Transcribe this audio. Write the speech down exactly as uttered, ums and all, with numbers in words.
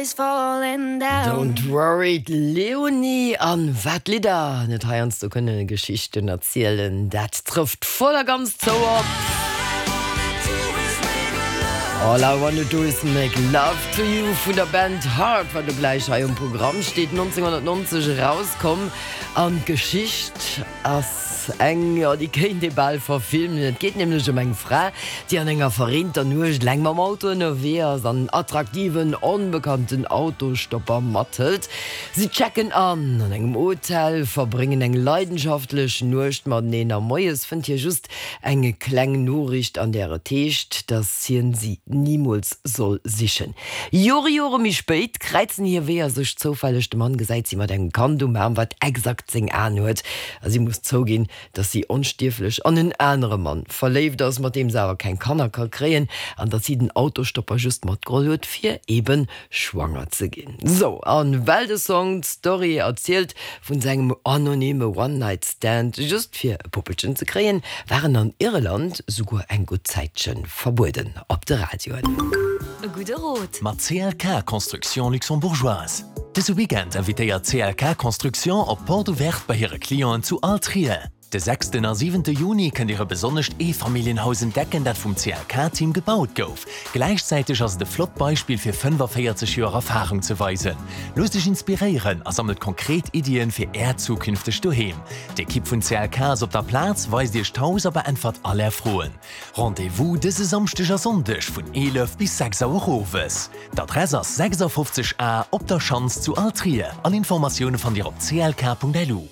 Is falling down. Don't worry, d'Leonie. An wat Lidder net heiansdo kënne Geschichten erzielen, dat trëfft voll a ganz zou op All I Wanna Do Is Make Love To You vun der Band Heart, wat lo gläich hei um Programm steet, nonzénghonnertnonzeg erauskomm. An d'Geschicht ass eng, jo, déi kéint ee bal verfilmen. Et geet nämlech ëm eng Fra, déi an enger verreenter Nuecht eleng mam Auto ënnerwee ass an en attraktiven, onbekannten Autostopper mathëlt. Si checken an an engem Hotel, verbréngen eng leidenschaftlech Nuecht mateneen a moies fënnt hie just eng kleng Noriicht, an där et heescht, dass hien si nimools soll sichen. Jore, Jore méi spéit kräizen hir Weeër sech zoufälleg. De Mann gesäit si mat engem Kand um Aarm, wat exakt seng Aen huet, a si muss zouginn, dass si onstierflech an en anere Mann verléift ass, mat deem se awer keng Kanner ka kréien, an dass si den Autostopper just matgeholl huet, fir eebe schwanger ze ginn. Sou, a well de Song d'Story erzielt vun sengem anonyme One-Night-Stand, just fir e Puppelchen ze kréien, war en an Irland souguer eng gutt Zäitche verbueden op de Radioen. E gudde Rot. Mat C L K Construction Luxembourgeoise. Dëse Weekend invitéiert C L K Construction op Porte Ouverte bei hire Clienten zu Altrier. De sechsten a siwente Juni kënnt Dir e besonnescht Eefamilljenhaus entdecken, dat vum C L K-Team gebaut gouf. Gläichzäiteg ass et e flott Beispill fir fënnefaféierzeg Joer Erfarung ze weisen. Loosst Iech inspiréieren a sammelt konkret Iddien fir Äert zukünftegt Doheem. D'Ekipp vun C L K ass op der Plaz, weist Iech d'Haus a beäntwert all Är Froen. Rendez-vous dëse Samschdeg a Sonndeg vun eelef bis sechs Auer owes. D'Adress ass sechsafofzeg A Op der Schanz zu Altrier. All Informatioune fannt Dir op C L K Punkt L U.